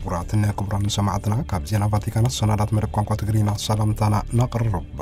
ክቡራትን ክቡራን ሰማዕትና፣ ካብ ዜና ቫቲካን ኣሰናዳት መደብ ቋንቋ ትግርኛ ሰላምታና ነቕርብ።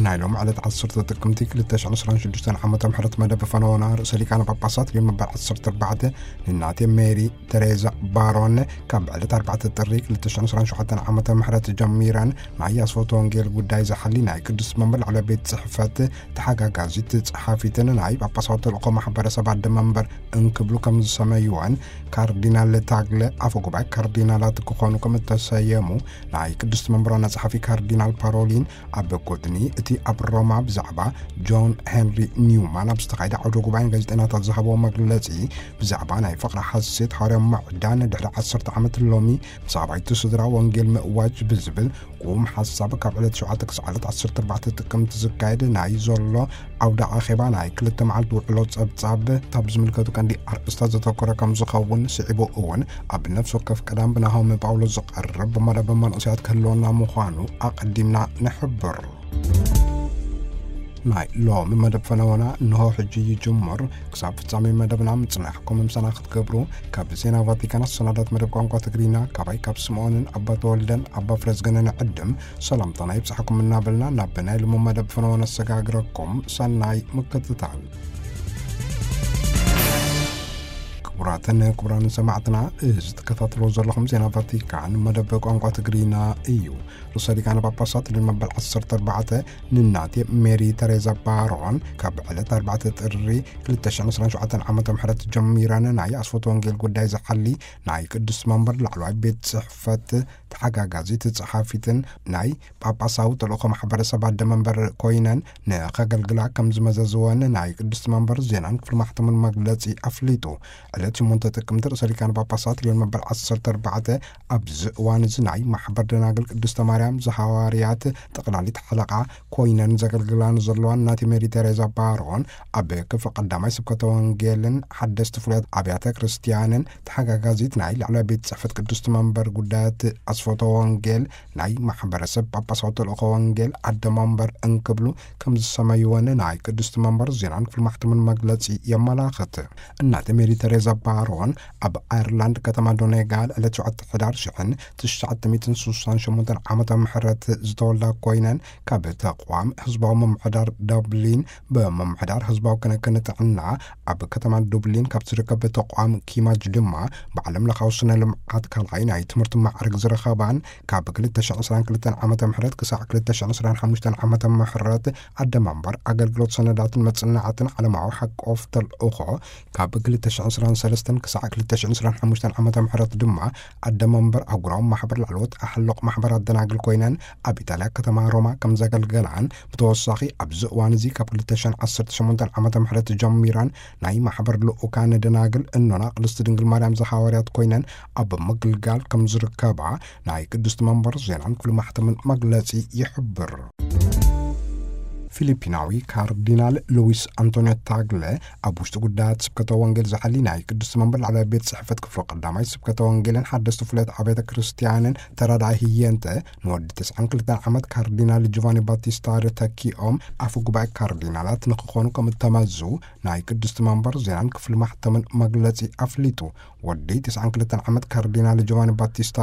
ናይ ሎም ዕለት ዓሰርተ ጥቅምቲ ክልተ ሽሕን ዕስራን ሽዱሽተን ዓመተ ምህረት መደብ ፈነወና ርእሰ ሊቃነ ጳጳሳት ሊዮን መበል ዓሰርተ ኣርባዕተ ንናቴ ሜሪ ተሬዛ ባሮን ካብ ዕለት ኣርባዕተ ጥሪ ክልተ ሽሕን ዕስራን ሸውዓተን ዓመተ ምህረት ጀሚረን ናይ ኣስፈቶ ወንጌል ጉዳይ ዝሓሊ ናይ ቅዱስ መንበር ላዕለ ቤት ጽሕፈት ተሓጋጋዚት ጸሓፊትን ናይ ጳጳሳዊ ተልእኮ ማሕበረሰብ ኣደ መንበር እንክብሉ ከም ዝሰመይወን ካርዲናል ታግለ ኣፈ ጉባኤ ካርዲናላት ክኾኑ ከም እተሰየሙ ናይ ቅዱስ መንበር ዋና ጸሓፊ ካርዲናል ፓሮሊን ኣብ ጎድኒ እቲ ኣብ ሮማ ብዛዕባ ጆን ሄንሪ ኒውማን ኣብ ዝተኻየደ ዓውደ ጉባኤ ንጋዜጠኛታት ዝሃበዎ መግለጺ ብዛዕባ ናይ ፍቕሪ ሓሴት ሃዋርያዊ ምዕዳን ድሕሪ ዓሰርተ ዓመት ሎሚ ምስ ኣባይቲ ስድራ ወንጌል ምእዋጅ ብዝብል ቁም ሓሳብ ካብ ዕለት ሸውዓተ ክሳዕ ዕለት ዓሰርተ ኣርባዕተ ጥቅምቲ ዝካየድ ናይ ዘሎ ዓውደ ኣኼባ ናይ ክልተ መዓልቲ ውዕሎ ጸብጻብ ካብ ዝምልከቱ ቀንዲ ኣርእስታት ዘተኮረ ከም ዝኸውን ስዒቡ እውን ኣብ ነፍሲ ወከፍ ቀዳም ብናሆም ጳውሎስ ዝቐርብ መደብ መንእሰያት ክህልወና ምዃኑ ኣቐዲምና ንሕብር። ናይ ሎሚ መደብ ፈነወና እንሆ ሕጂ ይጅምር። ክሳብ ፍጻሜ መደብና ምጽናሕኩም ምሳና ክትገብሩ ካብ ዜና ቫቲካን ኣሰናዳት መደብ ቋንቋ ትግርኛ ካባይ ካብ ስምዖንን ኣባ ተወልደን ኣባ ፍረዝገነ ንዕድም ሰላምታና ይብጻሕኩም እናበልና ናብ ናይ ሎሚ መደብ ፈነወና ኣሰጋግረኩም። ሰናይ ምክትታል። ክቡራትን ክቡራን ሰማዕትና፣ እዚ ትከታተልዎ ዘለኹም ዜና ቫቲካን መደብ ቋንቋ ትግርኛ እዩ። ርእሰ ሊቃነ ጳጳሳት ሊዮን መበል ዓሰርተ ኣርባዕተ ንናቴ ሜሪ ተሬዛ ባሮን ካብ ዕለት ኣርባዕተ ጥሪ ክልተ ሽሕን ዕስራን ሸውዓተን ዓመተ ምህረት ጀሚረን ናይ ኣስፈቶ ወንጌል ጉዳይ ዝሓሊ ናይ ቅዱስ መንበር ላዕለዋይ ቤት ጽሕፈት ተሓጋጋዚት ጸሓፊትን ናይ ጳጳሳዊ ተልእኮ ማሕበረሰብ ኣደ መንበር ኮይነን ንኸገልግላ ከም ዝመዘዝወን ናይ ቅዱስ መንበር ዜናን ክፍሊ ማሕተምን መግለጺ ኣፍሊጡ። ዕለት ሸሞንተ ጥቅምቲ ርእሰ ሊቃነ ጳጳሳት ሊዮን መበል ዓሰርተ ኣርባዕተ ኣብዚ እዋን እዚ ናይ ማሕበር ደናግል ቅድስተ ማርያም ዘሃዋርያት ጠቕላሊት ሓለቓ ኮይነን ዘገልግላ ንዘለዋ እናቴ ሜሪ ተሬዛ ባሮን ኣብ ክፍሊ ቀዳማይ ስብከተ ወንጌልን ሓደስቲ ፍሉያት ኣብያተ ክርስቲያንን ተሓጋጋዚት ናይ ላዕለዋይ ቤት ጽሕፈት ቅድስቲ መንበር ጉዳያት ኣስፈቶ ወንጌል ናይ ማሕበረሰብ ጳጳሳዊ ተልእኮ ወንጌል ኣደ መንበር እንክብሉ ከም ዝሰመይወን ናይ ቅድስቲ መንበር ዜናን ክፍሊ ማሕተምን መግለጺ የመላኽት። እናቴ ሜሪ ተሬዛ ባሮን ኣብ ኣየርላንድ ከተማ ዶኔጋል ዕለት ሸውዓተ ሕዳር ሽሕን ትሽዓተ ሚእትን ስሳን ሸሞንተን ዓመተ ምህረት ዝተወልዳ ኮይነን ካብ ተቋም ህዝባዊ ምምሕዳር ዳብሊን ብምምሕዳር ህዝባዊ ክንክን ጥዕና ኣብ ከተማ ዱብሊን ካብ ዝርከብ ተቋም ኪማጅ ድማ ብዓለም ለኻዊ ስነ ልምዓት ካልኣይ ናይ ትምህርቲ ማዕርግ ዝረኸባን ካብ ክልተ ሽሕን ዕስራን ክልተን ዓመተ ምህረት ክሳዕ ክልተ ሽሕን ዕስራን ሓሙሽተን ዓመተ ምህረት ኣደ መንበር ኣገልግሎት ሰነዳትን መጽናዕትን ዓለማዊ ሓቆፍ ተልእኾ ካብ ክልተ ሽሕን ዕስራን ሰለስተን ክሳዕ ክልተ ሽሕን ዕስራን ሓሙሽተን ዓመተ ምህረት ድማ ኣደ መንበር ኣህጉራዊ ማሕበር ላዕለዎት ኣሕሎቕ ማሕበራት ደናግል ኮይነን ኣብ ኢጣልያ ከተማ ሮማ ከም ዘገልገላን ብተወሳኺ ኣብዚ እዋን እዚ ካብ ክልተ ሽሕን ዓሰርተ ሸሞንተን ዓመተ ምህረት ጀሚረን ናይ ማሕበር ልኡካን ደናግል እኖና ቅድስቲ ድንግል ማርያም ዘሃዋርያት ኮይነን ኣብ ምግልጋል ከም ዝርከባ ናይ ቅድስቲ መንበር ዜናን ክፍሊ ማሕተምን መግለጺ ይሕብር። ፊሊፒናዊ ካርዲናል ሉዊስ ኣንቶኒዮ ታግለ ኣብ ውሽጢ ጉዳያት ስብከተ ወንጌል ዝሓሊ ናይ ቅድስቲ መንበር ላዕለዋይ ቤት ጽሕፈት ክፍሉ ቀዳማይ ስብከተ ወንጌልን ሓደስቲ ፍሉያት ኣብያተ ክርስቲያንን ተራዳኢ ህየንተ ንወዲ ተስዓን ክልተን ዓመት ካርዲናል ጆቫኒ ባቲስታ ተኪኦም ኣፈ ጉባኤ ካርዲናላት ንክኾኑ ከም እተመዙ ናይ ቅድስቲ መንበር ዜናን ክፍሊ ማሕተምን መግለጺ ኣፍሊጡ። ወዲ ተስዓን ክልተን ዓመት ካርዲናል ጆቫኒ ባቲስታ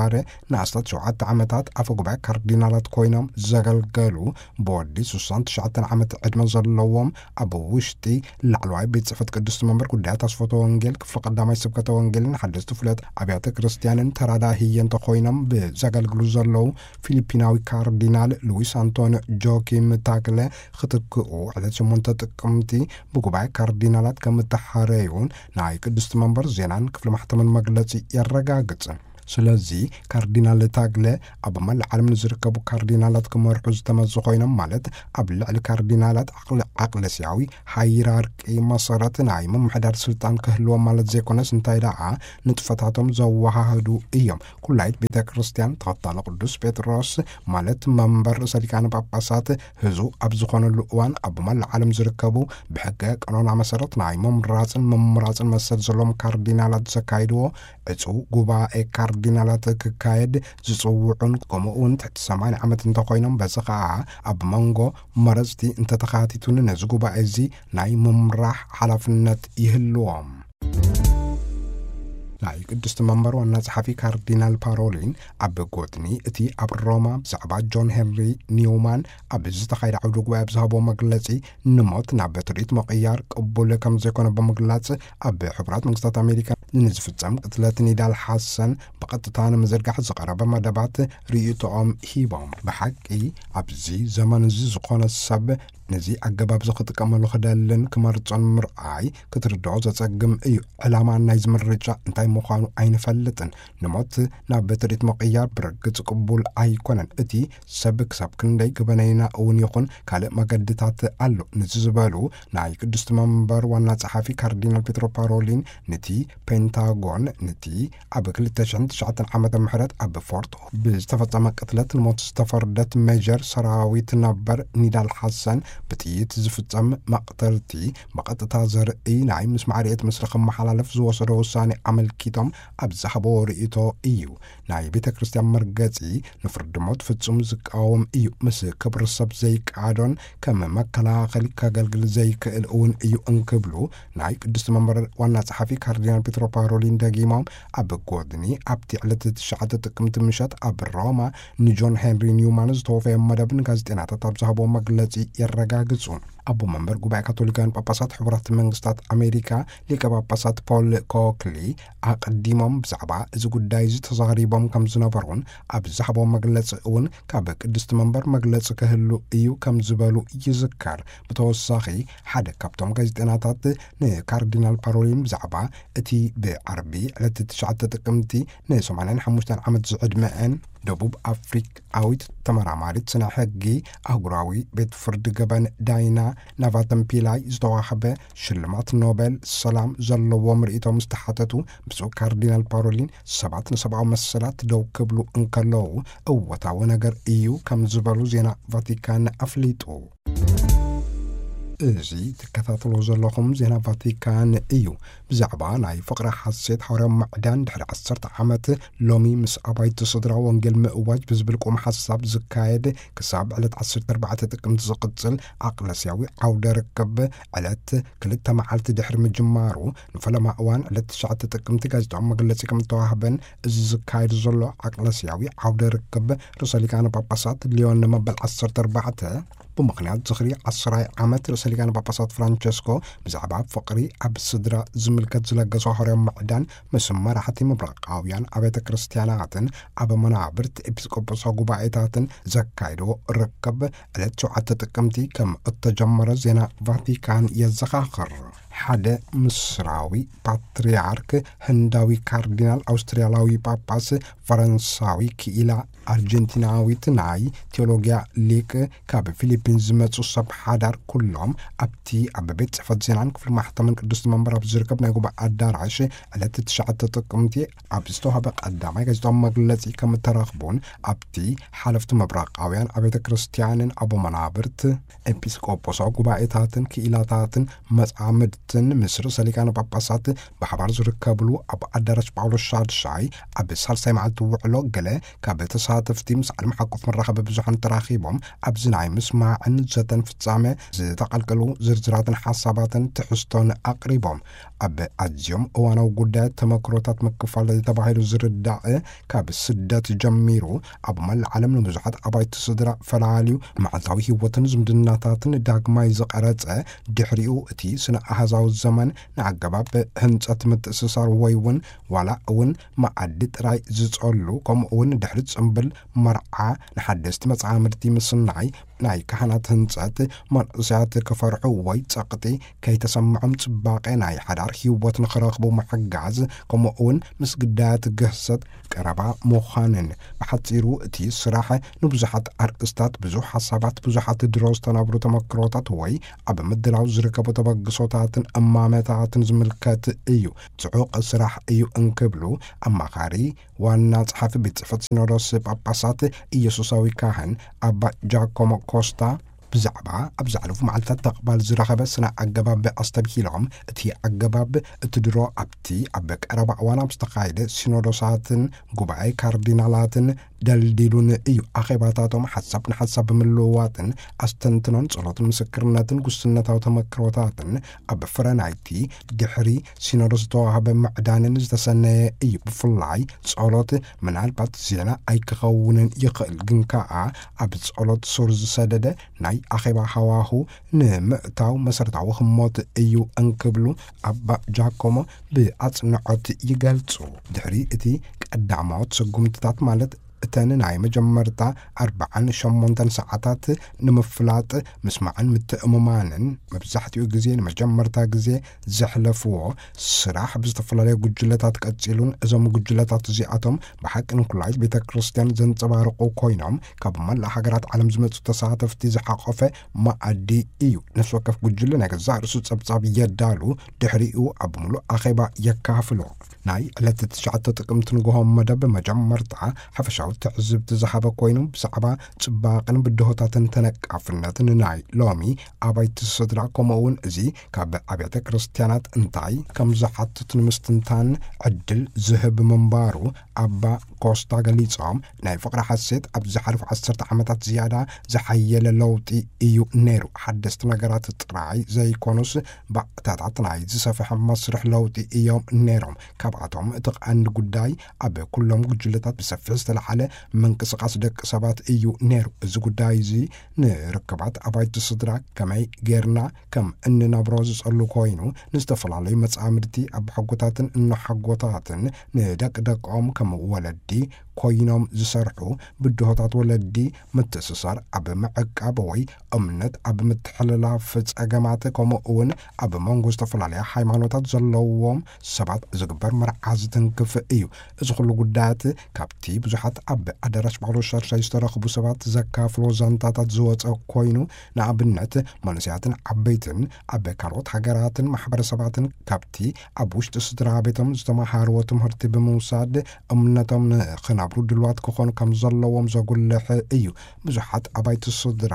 ንኣስታት ሸውዓተ ዓመታት ኣፈ ጉባኤ ካርዲናላት ኮይኖም ዘገልገሉ፣ ብወዲ ስሳን ትሽዓተን ዓመት ዕድመ ዘለዎም፣ ኣብ ውሽጢ ላዕለዋይ ቤት ጽሕፈት ቅድስቲ መንበር ጉዳያት ኣስፈቶ ወንጌል ክፍሊ ቀዳማይ ስብከተ ወንጌልን ሓደስቲ ፍሉያት ኣብያተ ክርስቲያንን ተራዳኢ ህየንተ ኮይኖም ብዘገልግሉ ዘለዉ ፊሊፒናዊ ካርዲናል ሉዊስ ኣንቶኒዮ ጆኪም ታግለ ክትክኡ ዕለት ሸሞንተ ጥቅምቲ ብጉባኤ ካርዲናላት ከም እተሓረዩን ናይ ቅድስቲ መንበር ዜናን ክፍሊ ማሕተምን መግለጺ የረጋግጽ። ስለዚ ካርዲናል ታግለ ኣብ መላእ ዓለም ንዝርከቡ ካርዲናላት ክመርሑ ዝተመዙ ኮይኖም፣ ማለት ኣብ ልዕሊ ካርዲናላት ዓቕሊ ዓቅለስያዊ ሃይራርቂ መሰረት ናይ ምምሕዳር ስልጣን ክህልዎም ማለት ዘይኮነስ፣ እንታይ ደኣ ንጥፈታቶም ዘወሃህዱ እዮም። ኩላይት ቤተ ክርስቲያን ተኸታሎ ቅዱስ ጴጥሮስ ማለት መንበር ርእሰ ሊቃነ ጳጳሳት ህዙ ኣብ ዝኾነሉ እዋን ኣብ መላእ ዓለም ዝርከቡ ብሕገ ቀኖና መሰረት ናይ ምምራጽን ምምራጽን መሰል ዘለዎም ካርዲናላት ዘካይድዎ ዕጹው ጉባኤ ካርዲናላት ክካየድ ዝጽውዑን፣ ከምኡ እውን ትሕቲ ሰማንያ ዓመት እንተኾይኖም፣ በዚ ኸኣ ኣብ መንጎ መረጽቲ እንተተኻቲቱን ነዚ ጉባኤ እዚ ናይ ምምራሕ ሓላፍነት ይህልዎም። ናይ ቅድስቲ መንበር ዋና ጸሓፊ ካርዲናል ፓሮሊን ኣብ ጎድኒ እቲ ኣብ ሮማ ብዛዕባ ጆን ሄንሪ ኒውማን ኣብ ዝተኻየደ ዓውደ ጉባኤ ኣብ ዝሃቦ መግለጺ፣ ንሞት ናብ ትርኢት ምቕያር ቅቡል ከም ዘይኮነ ብምግላጽ፣ ኣብ ሕቡራት መንግስታት ኣሜሪካ ንዝፍጸም ቅትለት ኒዳል ሓሰን ብቐጥታ ንምዝርጋሕ ዝቐረበ መደባት ርእይቶኦም ሂቦም። ብሓቂ ኣብዚ ዘመን እዚ ዝኾነ ሰብ ነዚ ኣገባብ እዚ ክጥቀመሉ ክደልን ክመርጾን ምርኣይ ክትርድኦ ዘጸግም እዩ። ዕላማ ናይዚ ምርጫ እንታይ ምዃኑ ኣይንፈልጥን። ንሞት ናብ ትርኢት ምቕያር ብርግጽ ቅቡል ኣይኮነን። እቲ ሰብ ክሳብ ክንደይ ገበነይና እውን ይኹን ካልእ መገድታት ኣሎ። ነዚ ዝበሉ ናይ ቅድስቲ መንበር ዋና ጸሓፊ ካርዲናል ፔትሮ ፓሮሊን፣ ነቲ ፔንታጎን ነቲ ኣብ ክልተ ሽሕን ትሽዓተን ዓመተ ምሕረት ኣብ ፎርት ብዝተፈጸመ ቅትለት ንሞት ዝተፈርደት ሜጀር ሰራዊት ነበር ኒዳል ሓሰን ብጥይት ዝፍጸም መቕተልቲ ብቐጥታ ዘርኢ ናይ ምስማዕ ርእየት ምስሪ ክመሓላለፍ ዝወሰዶ ውሳኔ ኣመልኪቶም ኣብ ዝሃቦ ርእይቶ እዩ። ናይ ቤተ ክርስቲያን መርገጺ ንፍርዲ ሞት ፍጹም ዝቃወም እዩ። ምስ ክብሪ ሰብ ዘይቃዶን ከም መከላኸሊ ከገልግል ዘይክእል እውን እዩ እንክብሉ ናይ ቅድስቲ መንበር ዋና ጸሓፊ ካርዲናል ፔትሮ ፓሮሊን ደጊሞም፣ ኣብ ጎድኒ ኣብቲ ዕለት ትሽዓተ ጥቅምቲ ምሸት ኣብ ሮማ ንጆን ሄንሪ ኒውማን ዝተወፈየ መደብ ንጋዜጠናታት ኣብ ዝሃቦ መግለጺ የረጋግጹ። ኣቦ መንበር ጉባኤ ካቶሊካውያን ጳጳሳት ሕቡራት መንግስታት ኣሜሪካ ሊቀ ጳጳሳት ፖል ኮክሊ ኣቐዲሞም ብዛዕባ እዚ ጉዳይ እዚ ተዛሪቦም ከም ዝነበሩን ኣብ ዝሃቦ መግለጺ እውን ካብ ቅድስቲ መንበር መግለጺ ክህሉ እዩ ከም ዝበሉ ይዝከር። ብተወሳኺ ሓደ ካብቶም ጋዜጠናታት ንካርዲናል ፓሮሊን ብዛዕባ እቲ ብዓርቢ ዕለት ትሽዓተ ጥቅምቲ ን ሰማንያን ሓሙሽተን ዓመት ዝዕድመአን ደቡብ ኣፍሪቃዊት ተመራማሪት ስነ ሕጊ ኣህጉራዊ ቤት ፍርዲ ገበን ዳይና ናቫተን ፒላይ ዝተዋህበ ሽልማት ኖቤል ሰላም ዘለዎም ርእይቶ ምስ ተሓተቱ፣ ብፁዕ ካርዲናል ፓሮሊን ሰባት ንሰብኣዊ መሰላት ደው ክብሉ እንከለዉ እወታዊ ነገር እዩ ከም ዝበሉ ዜና ቫቲካን ኣፍሊጡ። እዚ ትከታተሎ ዘለኹም ዜና ቫቲካን እዩ። ብዛዕባ ናይ ፍቕሪ ሓሴት ሓዋርያዊ ምዕዳን ድሕሪ ዓሰርተ ዓመት ሎሚ ምስ ኣባይቲ ስድራ ወንጌል ምእዋጅ ብዝብል ቁም ሓሳብ ዝካየድ ክሳብ ዕለት ዓሰርተ ኣርባዕተ ጥቅምቲ ዝቕጽል ኣቕለስያዊ ዓውደ ርክብ ዕለት ክልተ መዓልቲ ድሕሪ ምጅማሩ፣ ንፈለማ እዋን ዕለት ትሽዓተ ጥቅምቲ ጋዜጣዊ መግለጺ ከም እተዋህበን፣ እዚ ዝካየድ ዘሎ ኣቕለስያዊ ዓውደ ርክብ ርእሰ ሊቃነ ጳጳሳት ሊዮን መበል ዓሰርተ ኣርባዕተ ብምኽንያት ዝኽሪ ዓስራይ ዓመት ርእሰ ሊቃነ ጳጳሳት ፍራንቸስኮ ብዛዕባ ፍቕሪ ኣብ ስድራ ዝምልከት ዝለገሶ ሃዋርያዊ ምዕዳን ምስ መራሕቲ ምብራቓውያን ኣብያተ ክርስቲያናትን ኣብ መናብርት ኤጲስቆጶሳዊ ጉባኤታትን ዘካየድዎ ርክብ ዕለት ሸውዓተ ጥቅምቲ ከም እተጀመረ ዜና ቫቲካን የዘኻኽር። ሓደ ምስራዊ ፓትርያርክ ህንዳዊ ካርዲናል ኣውስትርያላዊ ጳጳስ ፈረንሳዊ ክኢላ ኣርጀንቲናዊት ናይ ቴዎሎጊያ ሊቅ ካብ ፊሊፒንስ ዝመጹ ሰብ ሓዳር ኩሎም ኣብቲ ኣብ ቤት ጽሕፈት ዜናን ክፍሊ ማሕተምን ቅድስቲ መንበር ኣብ ዝርከብ ናይ ጉባኤ ኣዳራሽ ዕለት ትሽዓተ ጥቅምቲ ኣብ ዝተዋህበ ቀዳማይ ጋዜጣዊ መግለጺ ከም እተረኽቡን ኣብቲ ሓለፍቲ ምብራቓውያን ኣብያተ ክርስቲያንን ኣቦ መናብርት ኤጲስቆጶሳዊ ጉባኤታትን ክኢላታትን መጻምድትን ምስ ርእሰ ሊቃነ ጳጳሳት ብሓባር ዝርከብሉ ኣብ ኣዳራሽ ጳውሎስ ሻድሻይ ኣብ ሳልሳይ መዓልቲ ውዕሎ ገለ ካብ ተሳተፍቲ ምስ ዓለም ሓቆፍ መራኸቢ ብዙሓን ተራኺቦም ኣብዚ ናይ ምስማዕን ዘተን ፍጻመ ዝተቐልቀሉ ዝርዝራትን ሓሳባትን ትሕዝቶን ኣቕሪቦም። ኣብ ኣዝዮም እዋናዊ ጉዳያት ተመክሮታት ምክፋል ተባሂሉ ዝርዳእ ካብ ስደት ጀሚሩ ኣብ መላእ ዓለም ንብዙሓት ኣባይቲ ስድራ ፈላልዩ መዓልታዊ ህይወትን ዝምድናታትን ዳግማይ ዝቐረጸ፣ ድሕሪኡ እቲ ስነ ኣሃዛዊ ዘመን ንኣገባብ ህንጸት ምትእስሳር ወይ እውን ዋላ እውን መኣዲ ጥራይ ዝጸሉ፣ ከምኡ እውን ድሕሪ ጽምብል መርዓ ንሓደስቲ መጻምድቲ ምስናይ፣ ናይ ካህናት ህንጸት፣ መንእሰያት ክፈርሑ ወይ ጸቕጢ ከይተሰምዖም ጽባቐ ናይ ሓዳር ህይወት ንኽረኽቡ ምሕጋዝ፣ ከምኡ እውን ምስ ግዳያት ግህሰት ቀረባ ምዃንን። ብሓጺሩ እቲ ስራሕ ንብዙሓት ኣርእስታት፣ ብዙሕ ሓሳባት፣ ብዙሓት ድሮ ዝተነብሩ ተመክሮታት ወይ ኣብ ምድላው ዝርከቡ ተበግሶታትን እማመታትን ዝምልከት እዩ። ጽዑቕ ስራሕ እዩ እንክብሉ ኣማኻሪ ዋና ጸሓፊ ቤት ጽሕፈት ሲኖዶስ ጳጳሳት ኢየሱሳዊ ካህን ኣባ ጃኮሞ ኮስታ ብዛዕባ ኣብ ዝሓለፉ መዓልታት ተቕባል ዝረኸበ ስነ ኣገባብ ኣስተብሂሎም፣ እቲ ኣገባብ እቲ ድሮ ኣብቲ ኣብ ቀረባ እዋን ኣብ ዝተኻየደ ሲኖዶሳትን ጉባኤ ካርዲናላትን ደልዲሉን እዩ። ኣኼባታቶም ሓሳብ ንሓሳብ ብምልውዋጥን ኣስተንትኖን ጸሎትን ምስክርነትን ጉስነታዊ ተመክሮታትን ኣብ ፍረ ናይቲ ድሕሪ ሲኖዶስ ዝተዋህበ ምዕዳንን ዝተሰነየ እዩ። ብፍላይ ጸሎት ምናልባት ዜና ኣይክኸውንን ይኽእል፣ ግን ከኣ ኣብ ጸሎት ሱር ዝሰደደ ናይ ኣኼባ ሃዋሁ ንምእታው መሰረታዊ ህሞት እዩ እንክብሉ ኣባ ጃኮሞ ብኣጽንዖት ይገልጹ። ድሕሪ እቲ ቀዳሞት ስጉምትታት፣ ማለት እተን ናይ መጀመርታ ኣርባዓን ሸሞንተን ሰዓታት ንምፍላጥ ምስማዕን ምትእምማንን፣ መብዛሕትኡ ግዜ ንመጀመርታ ግዜ ዘሕለፍዎ ስራሕ ብዝተፈላለዩ ጉጅለታት ቀጺሉን፣ እዞም ጉጅለታት እዚኣቶም ብሓቂ ንኩላይት ቤተ ክርስቲያን ዘንጸባርቑ ኮይኖም፣ ካብ መላእ ሃገራት ዓለም ዝመጹ ተሳተፍቲ ዝሓቖፈ መኣዲ እዩ። ነፍሲ ወከፍ ጉጅለ ናይ ገዛእ ርእሱ ጸብጻብ የዳሉ፣ ድሕሪኡ ኣብ ምሉእ ኣኼባ የካፍሎ። ናይ ዕለት ትሽዓተ ጥቅምቲ ንግሆ መደብ መጀመርታ ሓፈሻዊ ትዕዝብቲ ዝሃበ ኮይኑ፣ ብዛዕባ ጽባቕን ብድሆታትን ተነቃፍነትን ናይ ሎሚ ኣባይቲ ስድራ፣ ከምኡ እውን እዚ ካብ ኣብያተ ክርስቲያናት እንታይ ከም ዝሓትት ንምስትንታን ዕድል ዝህብ ምንባሩ ኣባ ኮስታ ገሊጾም፣ ናይ ፍቕሪ ሓሴት ኣብ ዝሓለፉ ዓሰርተ ዓመታት ዝያዳ ዝሓየለ ለውጢ እዩ ነይሩ። ሓደስቲ ነገራት ጥራይ ዘይኮኑስ፣ ባእታታት ናይ ዝሰፍሐ መስርሕ ለውጢ እዮም ነይሮም። ካብኣቶም እቲ ቀንዲ ጉዳይ፣ ኣብ ኩሎም ጉጅለታት ብሰፊሕ ዝተለዓለ ምንቅስቓስ ደቂ ሰባት እዩ ነይሩ። እዚ ጉዳይ እዚ ንርክባት ኣባይቲ ስድራ ከመይ ጌርና ከም እንነብሮ ዝጸሉ ኮይኑ፣ ንዝተፈላለዩ መጻምድቲ፣ ኣቦሓጎታትን እኖሓጎታትን ንደቂ ደቆም ከም ወለዲ ኮይኖም ዝሰርሑ፣ ብድሆታት ወለዲ ምትእስሳር ኣብ ምዕቃብ ወይ እምነት ኣብ ምትሕልላፍ ጸገማት፣ ከምኡ እውን ኣብ መንጎ ዝተፈላለያ ሃይማኖታት ዘለዎም ሰባት ዝግበር መርዓ ዝትንክፍ እዩ። እዚ ኩሉ ጉዳያት ካብቲ ብዙሓት ኣብ ኣዳራሽ ጳውሎስ ሻድሻይ ዝተረኽቡ ሰባት ዘካፍሎ ዛንታታት ዝወጸ ኮይኑ፣ ንኣብነት መንእሰያትን ዓበይትን ኣብ ካልኦት ሃገራትን ማሕበረሰባትን ካብቲ ኣብ ውሽጢ ስድራ ቤቶም ዝተመሃርዎ ትምህርቲ ብምውሳድ እምነቶም ንኽነብሩ ድልዋት ክኾኑ ከም ዘለዎም ዘጉልሕ እዩ። ብዙሓት ኣባይቲ ስድራ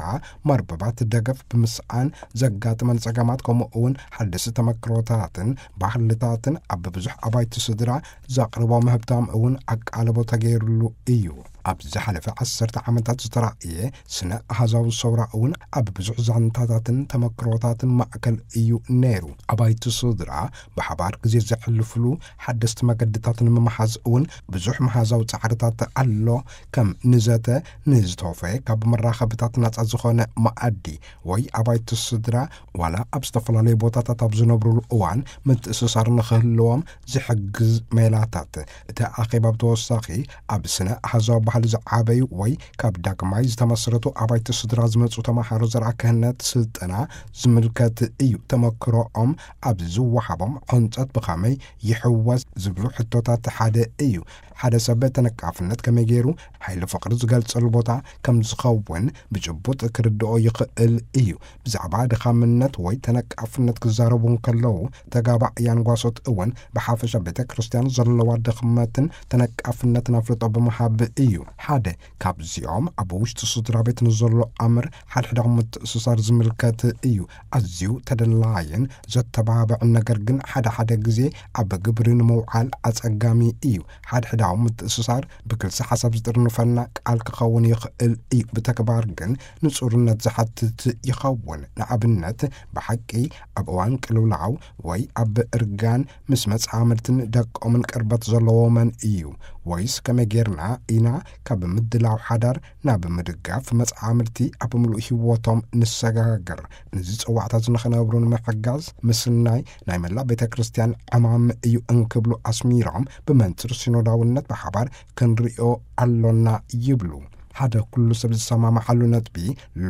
መርበባት ደገፍ ብምስኣን ዘጋጥመን ጸገማት፣ ከምኡ እውን ሓደስቲ ተመክሮታትን ባህልታትን ኣብ ብዙሕ ኣባይቲ ስድራ ዘቕርቦ ምህብታም እውን ኣቃልቦ ተገይሩሉ እዩ። ኣብ ዝሓለፈ ዓሰርተ ዓመታት ዝተራእየ ስነ ኣሃዛዊ ሰውራ እውን ኣብ ብዙሕ ዛንታታትን ተመክሮታትን ማእከል እዩ ነይሩ። ኣባይቲ ስድራ ብሓባር ግዜ ዘሕልፍሉ ሓደስቲ መገድታት ንምምሓዝ እውን ብዙሕ መሃዛዊ ጻዕርታት ኣሎ። ከም ንዘተ ንዝተወፈየ ካብ መራኸብታት ናጻ ዝኾነ መኣዲ ወይ ኣባይቲ ስድራ ዋላ ኣብ ዝተፈላለዩ ቦታታት ኣብ ዝነብሩሉ እዋን ምትእስሳር ንኽህልዎም ዝሕግዝ ሜላታት። እቲ ኣኼባ ብተወሳኺ ኣብ ስነ ኣሃዛዊ ባህሊ ዝዓበዩ ወይ ካብ ዳግማይ ዝተመስረቱ ኣባይቲ ስድራ ዝመጹ ተመሃሮ ዘርኣ ክህነት ስልጠና ዝምልከት እዩ። ተመክሮኦም ኣብ ዝወሃቦም ሕንጸት ብኸመይ ይሕወስ ዝብሉ ሕቶታት ሓደ እዩ። ሓደ ሰብ ተነቃፍነት ከመይ ገይሩ ሓይሊ ፍቕሪ ዝገልጸሉ ቦታ ከም ዝኸውን ብጭቡጥ ክርድኦ ይኽእል እዩ። ብዛዕባ ድኻምነት ወይ ተነቃፍነት ክዛረቡ እንከለዉ፣ ተጋባእያን ጓሶት እውን ብሓፈሻ ቤተ ክርስቲያን ዘለዋ ድኽመትን ተነቃፍነትን ኣፍልጦ ብምሃብ እዩ። ሓደ ካብዚኦም ኣብ ውሽጢ ስድራ ቤት ንዘሎ ኣምር ሓድሕዳዊ ምትእስሳር ዝምልከት እዩ። ኣዝዩ ተደላይን ዘተባብዕን ነገር ግን ሓደ ሓደ ግዜ ኣብ ግብሪ ንምውዓል ኣጸጋሚ እዩ። ሓድሕዳዊ ምትእስሳር ብክልሲ ሓሳብ ዝጥርንፈና ቃል ክኸውን ይኽእል እዩ፣ ብተግባር ግን ንጹርነት ዝሓትት ይኸውን። ንኣብነት፣ ብሓቂ ኣብ እዋን ቅልውላው ወይ ኣብ እርጋን ምስ መጻምድትን ደቆምን ቅርበት ዘለዎ መን እዩ? ወይስ ከመይ ጌርና ኢና ካብ ምድላው ሓዳር ናብ ምድጋፍ መጻምድቲ ኣብ ምሉእ ህይወቶም ንሰጋገር? ነዚ ጽዋዕታት ንኽነብሩ ንምሕጋዝ ምስናይ ናይ መላእ ቤተ ክርስቲያን ዕማም እዩ እንክብሉ ኣስሚሮም፣ ብመንጽር ሲኖዳውነት ብሓባር ክንርእዮ ኣሎና ይብሉ። ሓደ ኩሉ ሰብ ዝሰማማዓሉ ነጥቢ፣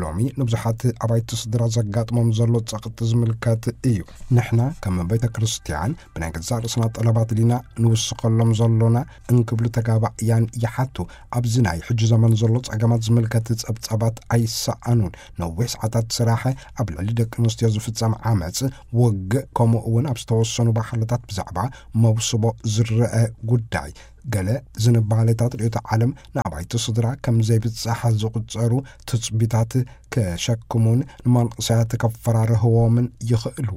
ሎሚ ንብዙሓት ኣባይቲ ስድራ ዘጋጥሞም ዘሎ ጸቕጢ ዝምልከት እዩ። ንሕና ከም ቤተ ክርስቲያን ብናይ ገዛእ ርእስና ጠለባት ዲና ንውስኸሎም ዘሎና እንክብሉ ተጋባእያን ይሓቱ። ኣብዚ ናይ ሕጂ ዘመን ዘሎ ጸገማት ዝምልከት ጸብጻባት ኣይሰኣኑን። ነዊሕ ሰዓታት ስራሕ፣ ኣብ ልዕሊ ደቂ ኣንስትዮ ዝፍጸም ዓመጽ፣ ውግእ፣ ከምኡ እውን ኣብ ዝተወሰኑ ባህልታት ብዛዕባ መውስቦ ዝረአ ጉዳይ ገለ ዝንባሌታት ርእዮተ ዓለም ንኣባይቲ ስድራ ከም ዘይብጻሕ ዝቑጸሩ ትጽቢታት ከሸክሙን ንመንእሰያት ከፈራርህዎምን ይኽእሉ።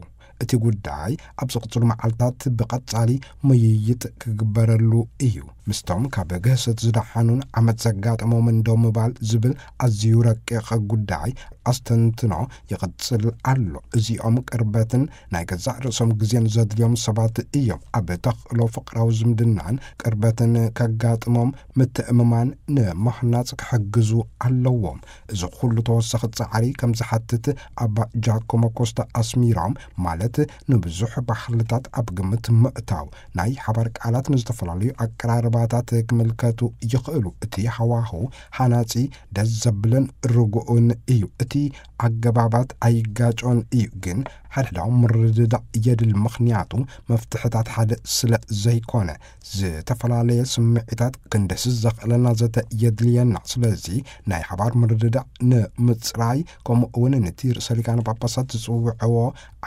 እቲ ጉዳይ ኣብ ዝቕጽሉ መዓልታት ብቐጻሊ ምይይጥ ክግበረሉ እዩ። ምስቶም ካብ ግህሰት ዝደሓኑን ዓመት ዘጋጠሞምን ደው ምባል ዝብል ኣዝዩ ረቂቕ ጉዳይ ኣስተንትኖ ይቕጽል ኣሎ። እዚኦም ቅርበትን ናይ ገዛእ ርእሶም ግዜን ዘድልዮም ሰባት እዮም። ኣብ ተኽእሎ ፍቕራዊ ዝምድናን ቅርበትን ከጋጥሞም ምትእምማን ንምህናጽ ክሕግዙ ኣለዎም። እዚ ኩሉ ተወሳኺ ጻዕሪ ከም ዝሓትት ኣባ ጃኮሞ ኮስታ ኣስሚሮም፣ ማለት ንብዙሕ ባህልታት ኣብ ግምት ምእታው፣ ናይ ሓባር ቃላት ንዝተፈላለዩ ኣቀራርባታት ክምልከቱ ይኽእሉ። እቲ ሃዋህው ሃናጺ፣ ደስ ዘብልን ርጉእን እዩ። እቲ ኣገባባት ኣይጋጮን እዩ፣ ግን ሓድሕዳዊ ምርድዳእ የድል፣ ምኽንያቱ መፍትሕታት ሓደ ስለ ዘይኮነ። ዝተፈላለየ ስምዒታት ክንደስስ ዘኽእለና ዘተ የድልየና። ስለዚ ናይ ሓባር ምርድዳእ ንምጽራይ፣ ከምኡ እውን ነቲ ርእሰ ሊቃነ ጳጳሳት ዝጽውዕዎ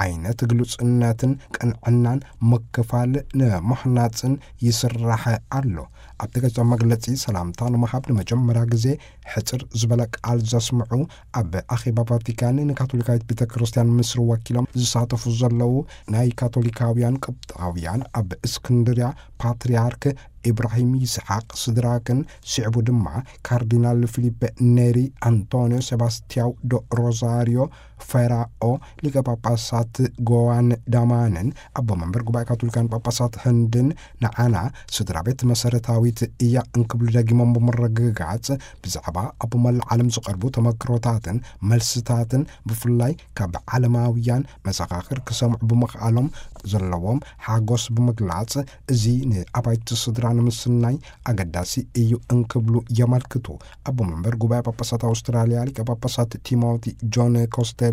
ዓይነት ግሉጽነትን ቅንዕናን ምክፋል ንምሕናጽን ይስራሕ ኣሎ። ኣብቲ ገጾም መግለጺ ሰላምታ ንምሃብ ንመጀመርያ ግዜ ሕጽር ዝበለ ቃል ዘስምዑ፣ ኣብ ኣኼባ ቫቲካን ንካቶሊካዊት ቤተ ክርስቲያን ምስሪ ወኪሎም ዝሳተፉ ዘለዉ ናይ ካቶሊካውያን ቅብጣውያን ኣብ እስክንድርያ ፓትርያርክ ኢብራሂም ይስሓቅ ስድራክን፣ ስዕቡ ድማ ካርዲናል ፊሊፕ ኔሪ፣ ኣንቶኒዮ ሴባስቲያው ዶ ሮዛሪዮ ፌራኦ ሊቀ ጳጳሳት ጎዋን ዳማንን ኣቦ መንበር ጉባኤ ካቶሊካን ጳጳሳት ህንድን ንዓና ስድራ ቤት መሰረታዊት እያ እንክብሉ ደጊሞም ብምርግጋጽ፣ ብዛዕባ ኣብ መላእ ዓለም ዝቐርቡ ተመክሮታትን መልስታትን ብፍላይ ካብ ዓለማውያን መሰኻኽር ክሰምዑ ብምኽኣሎም ዘለዎም ሓጎስ ብምግላጽ፣ እዚ ንኣባይቲ ስድራ ንምስናይ ኣገዳሲ እዩ እንክብሉ የመልክቱ። ኣቦ መንበር ጉባኤ ጳጳሳት ኣውስትራልያ ሊቀ ጳጳሳት ቲሞቲ ጆን ኮስቴሎ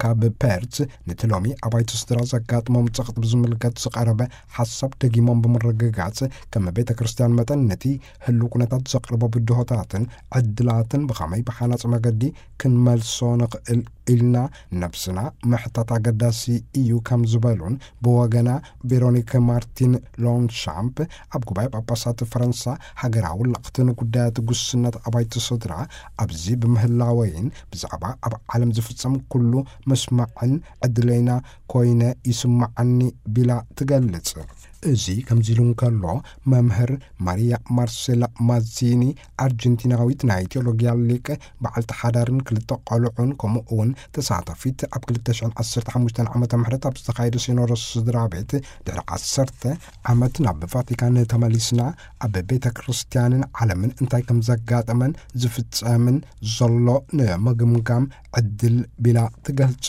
ካብ ፐርት፣ ነቲ ሎሚ ኣባይቲ ስድራ ዘጋጥሞም ጸቕጢ ብዝምልከት ዝቐረበ ሓሳብ ደጊሞም ብምርግጋጽ፣ ከም ቤተ ክርስቲያን መጠን ነቲ ህልው ኩነታት ዘቕርቦ ብድሆታትን ዕድላትን ብኸመይ ብሓናጽ መገዲ ክንመልሶ ንኽእል ኢልና ነብስና ምሕታት ኣገዳሲ እዩ ከም ዝበሉን፣ ብወገና ቬሮኒክ ማርቲን ሎንሻምፕ ኣብ ጉባኤ ጳጳሳት ፈረንሳ ሃገራዊ ለቕቲ ንጉዳያት ጉስነት ኣባይቲ ስድራ ኣብዚ ብምህላወይን፣ ብዛዕባ ኣብ ዓለም ዝፍጸም ኩሉ ምስማዕን ዕድለይና ኮይነ ይስማዓኒ ቢላ ትገልጽ። እዚ ከምዚ ኢሉ እንከሎ፣ መምህር ማሪያ ማርሴላ ማዚኒ፣ ኣርጀንቲናዊት ናይ ቴዎሎጊያ ሊቅ፣ በዓልቲ ሓዳርን ክልተ ቆልዑን፣ ከምኡ እውን ተሳታፊት ኣብ ክልተ ሽሕን ዓሰርተ ሓሙሽተን ዓመተ ምህረት ኣብ ዝተኻየደ ሲኖዶስ ስድራ ቤት፣ ድሕሪ ዓሰርተ ዓመት ናብ ቫቲካን ተመሊስና፣ ኣብ ቤተ ክርስቲያንን ዓለምን እንታይ ከም ዘጋጠመን ዝፍጸምን ዘሎ ንምግምጋም ዕድል ቢላ ትገልጾ።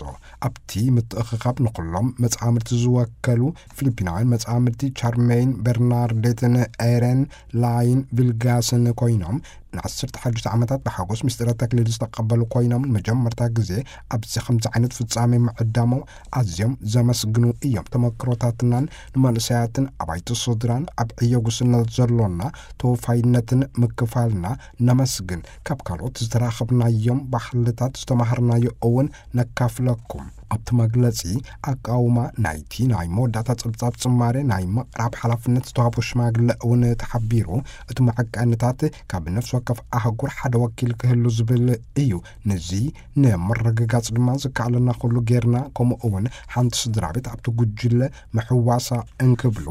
ኣብቲ ምትእኽኻብ ንኹሎም መጻምድቲ ዝወከሉ ፊሊፒናውያን መጻምድቲ ቻርሜይን በርናርዴትን ኤረን ላይን ቪልጋስን ኮይኖም፣ ንዓሰርተ ሓሙሽተ ዓመታት ብሓጎስ ምስጢረ ተክሊል ዝተቐበሉ ኮይኖም፣ ንመጀመርታ ግዜ ኣብዚ ከምዚ ዓይነት ፍጻሜ ምዕዳሞም ኣዝዮም ዘመስግኑ እዮም። ተመክሮታትናን ንመንእሰያትን ኣባይቲ ስድራን ኣብ ዕዮ ጉስነት ዘሎና ተወፋይነትን ምክፋልና ነመስግን። ካብ ካልኦት ዝተራኸብናዮም ባህልታት ዝተማሃርናዮ እውን ነካፍለኩም። ኣብቲ መግለጺ፣ ኣቃውማ ናይቲ ናይ መወዳእታ ጸብጻብ ጽማሬ ናይ ምቕራብ ሓላፍነት ዝተዋህቦ ሽማግለ እውን ተሓቢሩ። እቲ መዐቀንታት ካብ ነፍሲ ወከፍ ኣህጉር ሓደ ወኪል ክህሉ ዝብል እዩ። ነዚ ንምርግጋጽ ድማ ዝከኣለና ኩሉ ጌርና፣ ከምኡ እውን ሓንቲ ስድራ ቤት ኣብቲ ጉጅለ ምሕዋሳ እንክብሉ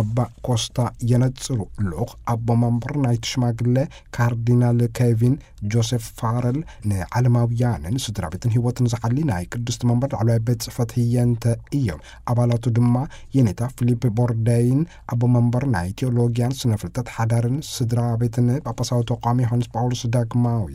ኣባ ኮስታ የነጽሩ። ልኡኽ ኣቦ መንበር ናይቲ ሽማግለ ካርዲናል ኬቪን ጆሴፍ ፋረል፣ ንዓለማውያንን ስድራ ቤትን ህይወትን ዝሓሊ ናይ ቅድስቲ መንበር ላዕለዋይ ቤት ጽሕፈት ህየንተ እዮም። ኣባላቱ ድማ የኔታ ፊሊፕ ቦርደይን፣ ኣቦ መንበር ናይ ቴዎሎጊያን ስነ ፍልጠት ሓዳርን ስድራ ቤትን ጳጳሳዊ ተቋም ዮሃንስ ጳውሎስ ዳግማዊ፣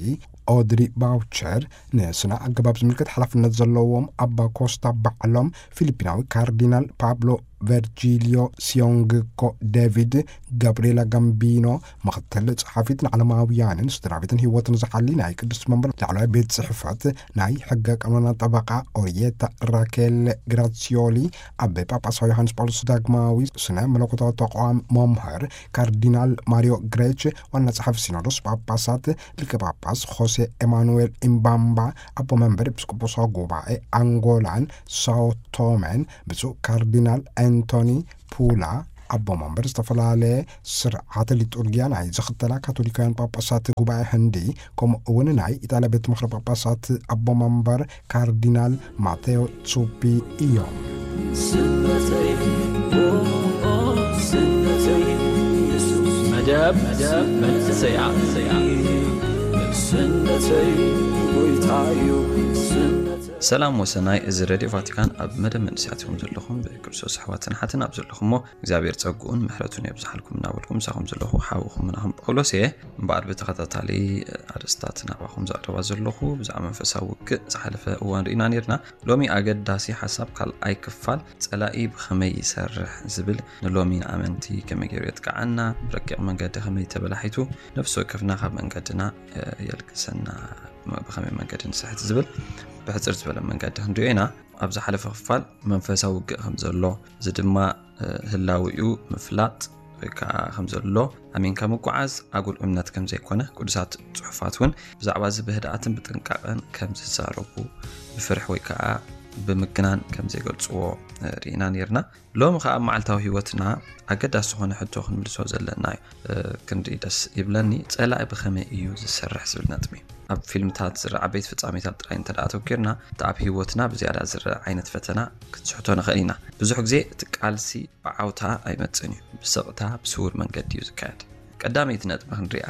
ኦድሪ ባውቸር፣ ንስነ ኣገባብ ዝምልከት ሓላፍነት ዘለዎም ኣባ ኮስታ ባዕሎም፣ ፊሊፒናዊ ካርዲናል ፓብሎ ቨርጂሊዮ ሲዮንግኮ ዴቪድ፣ ጋብሪኤላ ጋምቢኖ፣ ምኽትል ጸሓፊት ንዓለማውያንን ስድራ ቤትን ህይወትን ዝሓሊ ናይ ቅድስቲ መንበር ላዕለዋይ ቤት ጽሕፈት ናይ ሕገ ቀኖና ጠበቃ ኦሪየታ ራኬል ግራሲዮሊ፣ ኣብ ጳጳሳዊ ዮሃንስ ጳውሎስ ዳግማዊ ስነ መለኮታዊ ተቋም መምህር ካርዲናል ማሪዮ ግሬች፣ ዋና ጸሓፊ ሲኖዶስ ጳጳሳት ሊቀ ጳጳስ ሆሴ ኤማኑኤል ኢምባምባ፣ ኣቦ መንበር ኤጲስቆጶሳዊ ጉባኤ ኣንጎላን ሳኦ ቶሜን ብፁዕ ካርዲናል ኣንቶኒ ፑላ፣ ኣቦ መንበር ዝተፈላለየ ስርዓተ ሊጡርጊያ ናይ ዝኽተላ ካቶሊካውያን ጳጳሳት ጉባኤ ህንዲ፣ ከምኡ እውን ናይ ኢጣልያ ቤት ምኽሪ ጳጳሳት ኣቦ መንበር ካርዲናል ማቴዎ ሱፒ እዮም። መደብ መንእሰያ ሰላም ወሰናይ። እዚ ሬድዮ ቫቲካን ኣብ መደብ መንእሰያት ኢኹም ዘለኹም ብክርስቶስ ኣሕዋትን ሓትን ኣብ ዘለኹሞ እግዚኣብሔር ጸግኡን ምሕረቱን የብዝሓልኩም እናበልኩም ምሳኹም ዘለኹ ሓውኹም ምናኹም ጳውሎስ እየ። እምበኣር ብተኸታታሊ ኣርእስታት ናባኹም ዘቕርባ ዘለኹ ብዛዕባ መንፈሳዊ ውግእ ዝሓለፈ እዋን ርኢና ነርና። ሎሚ ኣገዳሲ ሓሳብ ካልኣይ ክፋል ጸላኢ ብኸመይ ይሰርሕ ዝብል ንሎሚ ንኣመንቲ ከመይ ገይሩ የጥቅዓና፣ ብረቂቕ መንገዲ ከመይ ተበላሒቱ ነፍሲ ወከፍና ካብ መንገድና የልቅሰና፣ ብኸመይ መንገዲ ንስሕት ዝብል ብሕጽር ዝበለ መንገዲ ክንሪኦ ኢና። ኣብ ዝሓለፈ ክፋል መንፈሳዊ ውግእ ከም ዘሎ፣ እዚ ድማ ህላዊኡ ምፍላጥ ወይ ከዓ ከም ዘሎ ኣሚንካ ምጉዓዝ ኣጉል እምነት ከም ዘይኮነ፣ ቅዱሳት ጽሑፋት እውን ብዛዕባ እዚ ብህድኣትን ብጥንቃቐን ከም ዝዛረቡ፣ ብፍርሒ ወይ ከዓ ብምግናን ከም ዘይገልጽዎ ርኢና ነርና። ሎሚ ከዓ ኣብ መዓልታዊ ህይወትና ኣገዳሲ ዝኾነ ሕቶ ክንምልሶ ዘለና ክንርኢ ደስ ይብለኒ። ጸላኢ ብኸመይ እዩ ዝሰርሕ ዝብል ነጥቢ። ኣብ ፊልምታት ዝረኣ ዓበይቲ ፍጻሜታት ጥራይ እንተ ኣተኪርና፣ እቲ ኣብ ህይወትና ብዝያዳ ዝረኣ ዓይነት ፈተና ክትስሕቶ ንኽእል ኢና። ብዙሕ ግዜ እቲ ቃልሲ ብዓውታ ኣይመጽን እዩ፣ ብስቕታ ብስውር መንገዲ እዩ ዝካየድ። ቀዳመይቲ ነጥቢ ክንሪኣ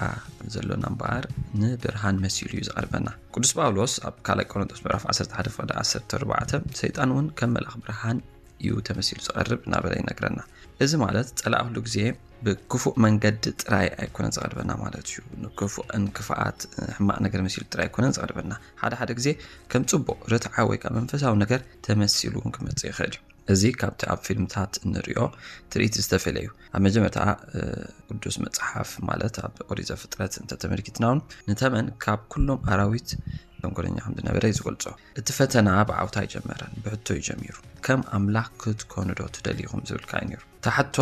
ዘሎና እምበኣር ንብርሃን መሲሉ እዩ ዝቐርበና። ቅዱስ ጳውሎስ ኣብ ካልኣይ ቆሮንቶስ ምዕራፍ ዓሰርተ ሓደ ፍቕዲ ዓሰርተ ኣርባዕተ፣ ሰይጣን እውን ከም መልኣኽ ብርሃን እዩ ተመሲሉ ዝቐርብ እናበለ ይነግረና። እዚ ማለት ጸላኢ ኩሉ ግዜ ብክፉእ መንገዲ ጥራይ ኣይኮነን ዝቐርበና ማለት እዩ። ንክፉእ እንክፍኣት ሕማቕ ነገር መሲሉ ጥራይ ኣይኮነን ዝቐርበና። ሓደ ሓደ ግዜ ከም ጽቡቕ ርትዓዊ ወይ ከዓ መንፈሳዊ ነገር ተመሲሉ እውን ክመጽእ ይኽእል እዩ። እዚ ካብቲ ኣብ ፊልምታት እንሪኦ ትርኢት ዝተፈለዩ። ኣብ መጀመርታ ቅዱስ መጽሓፍ ማለት ኣብ ኦሪት ዘፍጥረት እንተተመልኪትና እውን ንተመን ካብ ኩሎም ኣራዊት ተንኮለኛ ከም ዝነበረ እዩ ዝገልጾ። እቲ ፈተና ብዓውታ ኣይጀመረን፣ ብሕቶ እዩ ጀሚሩ። ከም ኣምላኽ ክትኮኑ ዶ ትደልዩ ኢኹም ዝብል ከኣ እዩ ነይሩ። እታ ሕቶ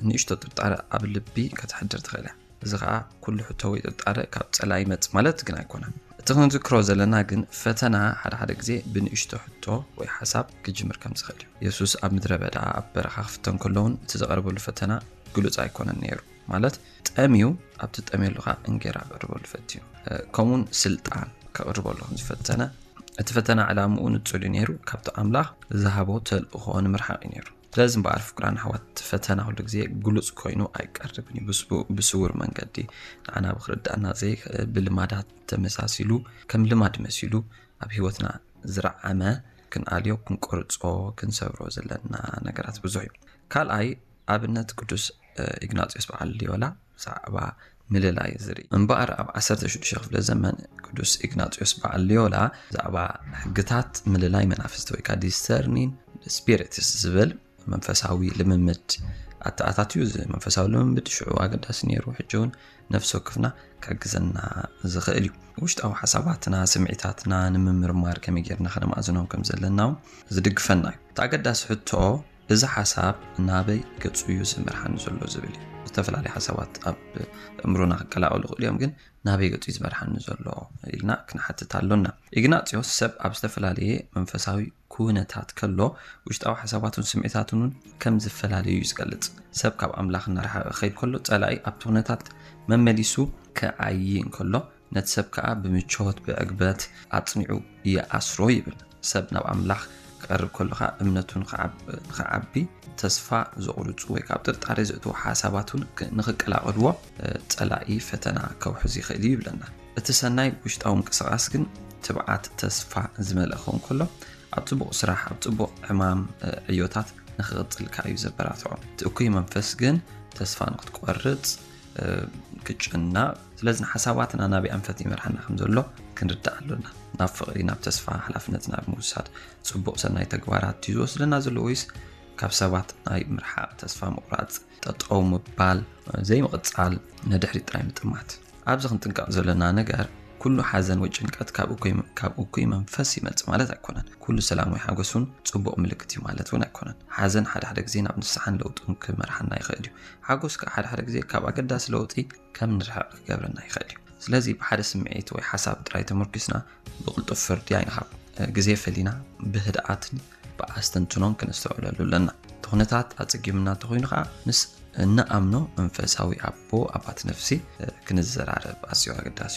ንእሽቶ ጥርጣረ ኣብ ልቢ ከተሕድር ትኽእል እያ። እዚ ከኣ ኩሉ ሕቶ ወይ ጥርጣረ ካብ ጸላኢ ይመጽእ ማለት ግን ኣይኮነን። እቲ ክንዝክሮ ዘለና ግን ፈተና ሓደ ሓደ ግዜ ብንእሽቶ ሕቶ ወይ ሓሳብ ክጅምር ከም ዝኽእል እዩ። የሱስ ኣብ ምድረ በዳ ኣብ በረኻ ክፍተን ከሎ እውን እቲ ዘቐርበሉ ፈተና ግሉጽ ኣይኮነን ነይሩ። ማለት ጠምዩ ኣብቲ ጠምየሉ ከኣ እንጌራ ክቕርበሉ ፈትዩ። ከምኡውን ስልጣን ከቕርበሉ ከም ዝፈተነ እቲ ፈተና ዕላምኡ ንጹር እዩ ነይሩ። ካብቲ ኣምላኽ ዝሃቦ ተልእኾ ንምርሓቕ እዩ ነይሩ። ስለዚ እምበኣር ፍቁራን ኣሕዋት እቲ ፈተና ኩሉ ግዜ ግሉጽ ኮይኑ ኣይቀርብን እዩ። ብስውር መንገዲ ንዓና ብክርዳእና ዘይክእል ብልማዳት ተመሳሲሉ ከም ልማድ መሲሉ ኣብ ህይወትና ዝረዓመ ክንኣልዮ ክንቆርጾ ክንሰብሮ ዘለና ነገራት ብዙሕ እዩ። ካልኣይ ኣብነት ቅዱስ ኢግናጽዮስ በዓል ሊዮላ ብዛዕባ ምልላይ ዝርኢ እምበኣር ኣብ ዓሰርተ ሽዱሽተ ክፍለ ዘመን ቅዱስ ኢግናጽዮስ በዓል ሊዮላ ብዛዕባ ሕግታት ምልላይ መናፍስቲ ወይ ከዓ discerning spirits ዝብል መንፈሳዊ ልምምድ ኣተኣታትዩ። እዚ መንፈሳዊ ልምምድ ሽዑ ኣገዳሲ ነይሩ። ሕጂ እውን ነፍሲ ወከፍና ክሕግዘና ዝኽእል እዩ። ውሽጣዊ ሓሳባትና፣ ስምዒታትና ንምምርማር ከመይ ጌርና ከነማእዝኖም ከም ዘለና እውን ዝድግፈና እዩ። እቲ ኣገዳሲ ሕቶ እዚ ሓሳብ ናበይ ገጹ እዩ ዝመርሓኒ ዘሎ ዝብል እዩ። ዝተፈላለዩ ሓሳባት ኣብ እምሮና ክቀላቐሉ ይኽእሉ እዮም፣ ግን ናበይ ገጹ እዩ ዝመርሓኒ ዘሎ ኢልና ክንሓትት ኣሎና። ኢግናጽዮስ ሰብ ኣብ ዝተፈላለየ መንፈሳዊ ኩነታት ከሎ ውሽጣዊ ሓሳባቱን ስምዒታቱን እውን ከም ዝፈላለዩ እዩ ዝገልጽ። ሰብ ካብ ኣምላኽ እናረሓቐ ክኸይድ ከሎ ጸላኢ ኣብቲ ኩነታት መመሊሱ ክዓዪ እንከሎ ነቲ ሰብ ከኣ ብምቾት ብዕግበት ኣጽኒዑ ይኣስሮ ይብል። ሰብ ናብ ኣምላኽ ክቐርብ ከሎ ከኣ እምነቱ ንኽዓቢ ተስፋ ዘቑርጹ ወይ ካብ ጥርጣሬ ዘእትዉ ሓሳባት እውን ንኽቀላቐልዎ ጸላኢ ፈተና ከውሕዝ ይኽእል እዩ ይብለና። እቲ ሰናይ ውሽጣዊ ምንቅስቓስ ግን ትብዓት ተስፋ ዝመልአ ክኸውን ከሎ ኣብ ጽቡቕ ስራሕ ኣብ ጽቡቕ ዕማም ዕዮታት ንኽቕጽል ከኣ እዩ ዘበራትዖ። እቲ እኩይ መንፈስ ግን ተስፋ ንኽትቆርጽ ክጭና። ስለዚ ንሓሳባትና ናበይ ኣንፈት ይመርሓና ከም ዘሎ ክንርዳእ ኣሎና። ናብ ፍቕሪ፣ ናብ ተስፋ፣ ሓላፍነት ናብ ምውሳድ፣ ጽቡቕ ሰናይ ተግባራት ድዩ ዝወስደና ዘሎ ወይስ ካብ ሰባት ናይ ምርሓቕ፣ ተስፋ ምቑራጽ፣ ጠጠው ምባል፣ ዘይምቕጻል፣ ንድሕሪት ጥራይ ምጥማት? ኣብዚ ክንጥንቀቕ ዘለና ነገር ኩሉ ሓዘን ወይ ጭንቀት ካብ እኩይ መንፈስ ይመጽእ ማለት ኣይኮነን። ኩሉ ሰላም ወይ ሓጎስ እውን ጽቡቕ ምልክት እዩ ማለት እውን ኣይኮነን። ሓዘን ሓደ ሓደ ግዜ ናብ ንስሓን ለውጥን ክመርሓና ይኽእል እዩ። ሓጎስ ከኣ ሓደ ሓደ ግዜ ካብ ኣገዳሲ ለውጢ ከም ንርሕቕ ክገብረና ይኽእል እዩ። ስለዚ ብሓደ ስምዒት ወይ ሓሳብ ጥራይ ተመርኪስና ብቕልጡፍ ፍርዲ ኣይንሃብ። ግዜ ፈሊና ብህድኣትን ብኣስተንትኖን ክነስተውዕለሉ ኣለና። እቲ ኩነታት ኣጸጊምና እንተኾይኑ ከዓ ምስ እንኣምኖ መንፈሳዊ ኣቦ ኣባት ነፍሲ ክንዘራረብ ኣዝዩ ኣገዳሲ እዩ።